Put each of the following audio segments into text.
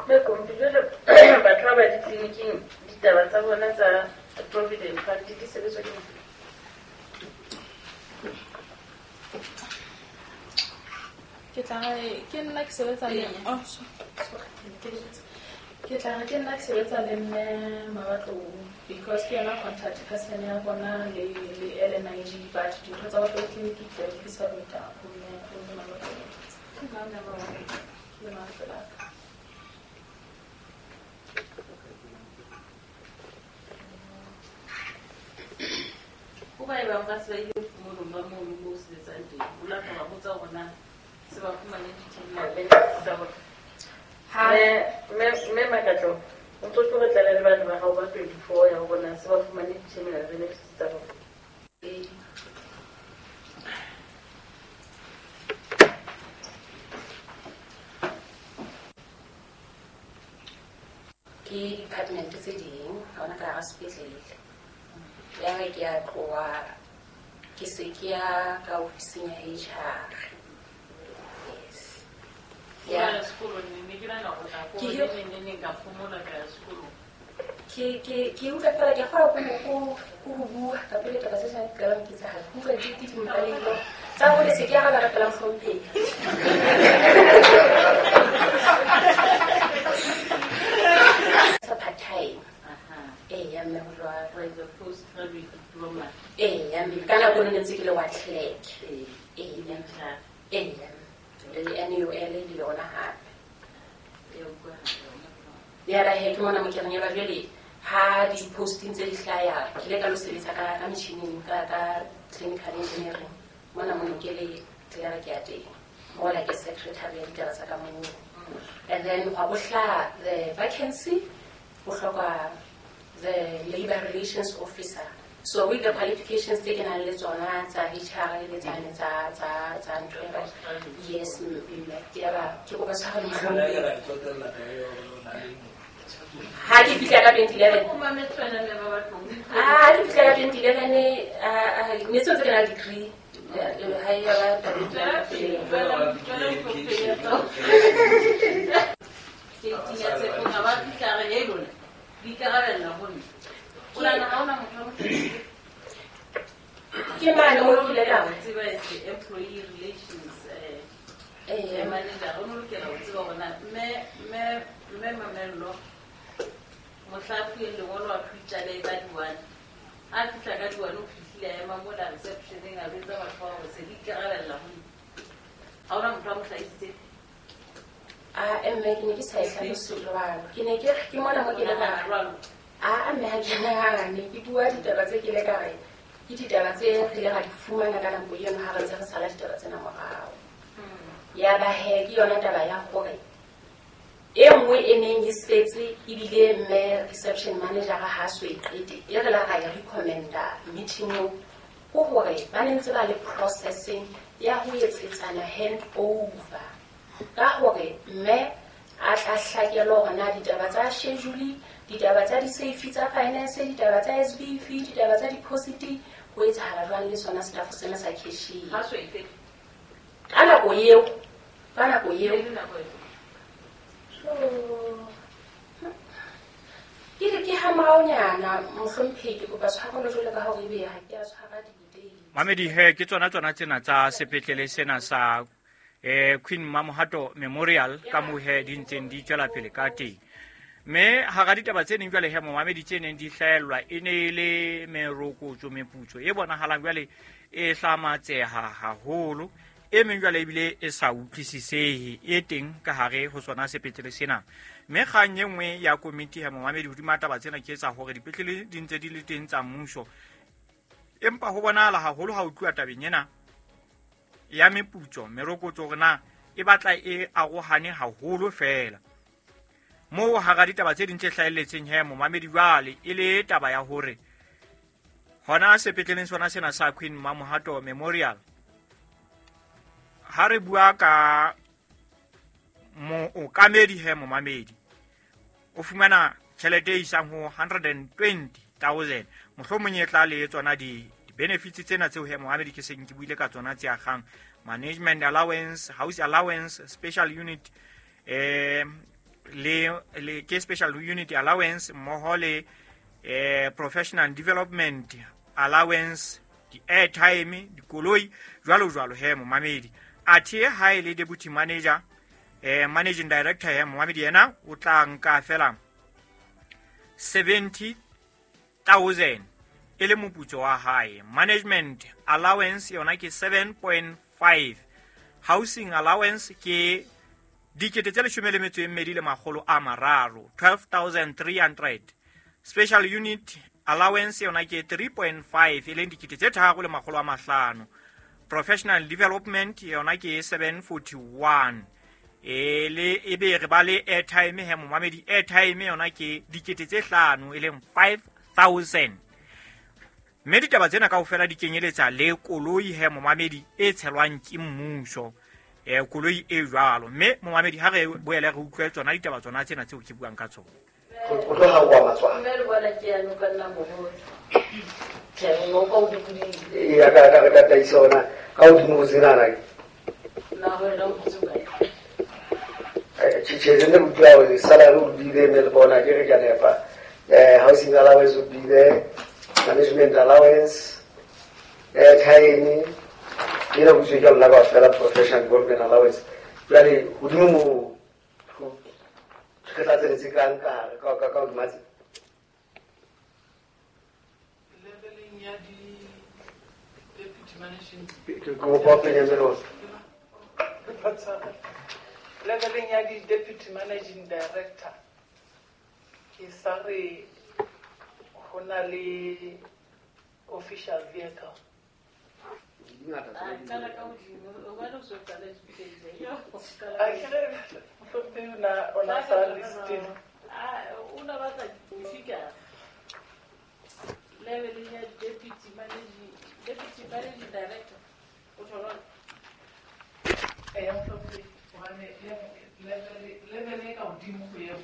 Mme Kompi, jwale batho ba ba ditleliniking ditaba tsa bona tsa provident fund di sebetswa ke mang? Ke tla re ke nna ke sebetsa le, oh, sorry, ke lebetse. Ke tla re ke nna ke sebetsa le mme Mabatlou because ke yona contact person ya bona le LNIG, but dintho tsa batho ba tleliniki ke di submit-a ho mme Mabatlou. Ke mang mme Mabatlou? Ke le mang pela ka. Ho ba e bang ba se ba ile phomolong ba mono moo o sebetsang teng, o la ka ba botsa hore na se ba fumane di-terminal benefits tsa bona? Mme Makatlo, o ntso tlo re tlala le bana ba hao ba 24 ya hore na se ba fumane di-terminal benefits tsa bona. Ee. Ke department tse ding ha hona ka hara sepetlele. Ya re ke a tloha ke se ke ya ka ofising ya HR. Yes. Ya sekolong ne ke nahana hore nako Ke ne ne ne nka phomola ka ya sekolong. Ke utlwa fela ke kgona ko ho bua ka pele taba tse tshwanang ke tla ke tsa ke utlwa di di mpaleng tsa hore se ke ya ga ba pela mohlomphehi. Sa part time. Ee, ya mme ho jwalo. Wa etsa postgraduate diploma. Ee, ya mme ka nako ne ntse ke le wa clerk. Ee. Ee, ya mme. HR. Ee, ya mme. Le NUL le yona hape. Ya utlwahala yona. Ya ba he ke mona mo ke reng ya ba jwale ha di-posting tse di hlaya, ke ile ka lo sebetsa ka metjhining, ka clinical engineering. Mona mo ke le clerk ya teng. Mola ke secretary ya ditaba tsa ka moo. And then hwa bo hlaha the vacancy, ho hloka the labor relations officer. So with the qualifications tse ke nang le tsona tsa HR le tsane tsa ntho e ba, yes, mme, ke ya ba, ke kopa tshwarelo mohlomong. Ha ke fihla ka 2011. O mametse wena mme ba batlong. Ah, ha ke fihla ka 2011, ne se ntse ke na le degree. Ha e ya ba taba e Tswela pele, tswela pele, tswela pele. Ke itinya tshepong, ha ba fihla re, hey, lona, le ikarabella ho nna. O nahana ha hona motho a mo tshepileng? Ke mane mo ke ile ka Ho tseba as the employee relations, Ee. manager, o no lokela ho tseba hore na mme Mamello, mohla a fuweng lengolo a phutjale ka di-1. Ha a fihla ka di-1, o fihlile a ema mola reception-eng, a jwetsa batho ba hore se le ikarabella ho nna. Ha hona motho a mo hlahisitseng? Ah, mme, ke ne ke sa e hlalose jwalo. Ke ne ke re, ke mona mo ke le ka Jwalo. Ah, mme, ha ke nahane. Ke bua ditaba tse ke le ka re, ke ditaba tse re ileng ra di fumana ka nako eno ha re ntse re sala ditaba tsena morao. Ya ba he, ke yona taba ya hore e nngwe e neng e setse ebile mme reception manager ha a so e qete, e re la ra e recommenda meeting-ong, ke hore ba ne ntse ba le processing ya ho etsetsana hand over. Ka hore mme a tla hlakelwa hore na ditaba tsa schedule, ditaba tsa di-safe tsa finance, ditaba tsa SBF, ditaba tsa deposit, ho etsahala jwang le sona staff sena sa cashier. Ha so e qete. Ka nako eo, ka nako eo. E le nako efe? Ke re ke ha moraonyana, mohlomphehi, ke kopa tshwarelo jwalo ka hore ebe ha ke a tshwara di-date. Mamedi he, ke tsona tsena tsa sepetlele sena sa, Queen Mamohato Memorial, ka moo he di ntseng di tswela pele ka teng. Mme hara ditaba tse ding jwale he, momamedi, tse neng di hlaellwa e ne e le merokotso, meputso e bonahalang jwale e hlamatseha haholo, e meng jwale ebile e sa utlwisisehe, e teng ka hare ho sona sepetlele sena. Mme kgang e nngwe ya komiti ya momamedi hodima taba tsena ke etsa hore dipetlele di ntse di le teng tsa mmuso, empa ho bonahala haholo ha ho tluwa tabeng ena ya meputso, merokotso, hore na e batla e arohane haholo feela. Moo hara ditaba tse ding tse hlahelletseng he, momamedi, jwale e le taba ya hore hona sepetleleng sona sena sa Queen Mamohato Memorial, ha re bua ka mookamedi he, momamedi, o fumana tjhelete e isang ho 120,000, mohlomong e tla le tsona di-benefits tsena tseo he, momamedi, ke seng ke buile ka tsona tse akgang management allowance, house allowance, special unit, le ke special unit allowance mmoho le professional development allowance, di-airtime, dikoloi jwalo jwalo he momamedi. Athe ha e le deputy manager, managing director he momamedi, yena o tla nka fela 70,000 e le moputso wa hae. Management allowance yona ke 7.5, housing allowance ke 12,300, 12,300. Special unit allowance yona ke 3.5 e leng 3,500. Professional development yona ke 741. E le e be re ba le airtime he momamedi, airtime yona ke 5,000 e leng 5,000. Mme ditaba tsena kaofela di kenyeletsa le koloi he momamedi e tshelwang ke mmuso, koloi e jwalo. Mme momamedi ha re boele re utlwe tsona ditaba tsona tsena tseo ke buang ka tsona. O tloga o amatswana. Mme le bona ke ya noka nna moholo. Ke ngoka o dikudile. Ee, ka re tataisa ona ka hodimo ho tsenana. Na ho ena o botse kae? Tjhe, ne utlwa hore salary o bile mme le bona ke re ke a nepa. Housing allowance o bile, management allowance, airtime, ena ho tswe ka lona kaofela professional development allowance. Jwale hodimo moo re tla tseletse kang ka hare ka hodima tse? Leveleng ya di-deputy managing Ke kopa o penye melora. Leveleng ya di-deputy managing director ke sa re ho na le official vehicle. A qala ka hodimo, o bane o so qala dipele. Yo, qala. A ke re mohlomphehi o na sa listile. O na batla di-figure. Leveleng ya deputy managing director. O tjho Eya mohlomphehi, hobane level e ka hodimo ho eo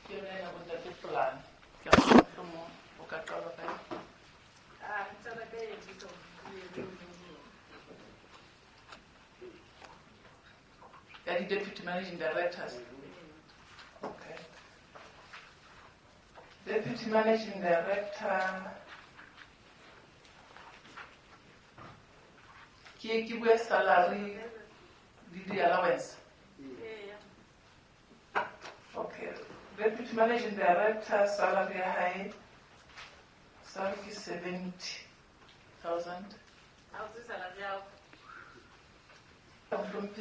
ke yona ya bontate Polane. Ke a bona mohlomong o ka qala ka yona. Ah, qala ka e bitso. Ya di-deputy managing directors. Okay. Deputy managing director ke bue salary le di-allowance. Okay. Deputy managing director salary ya hae salary ke 70,000. Ha o se salary ya hao. Mohlomphehi.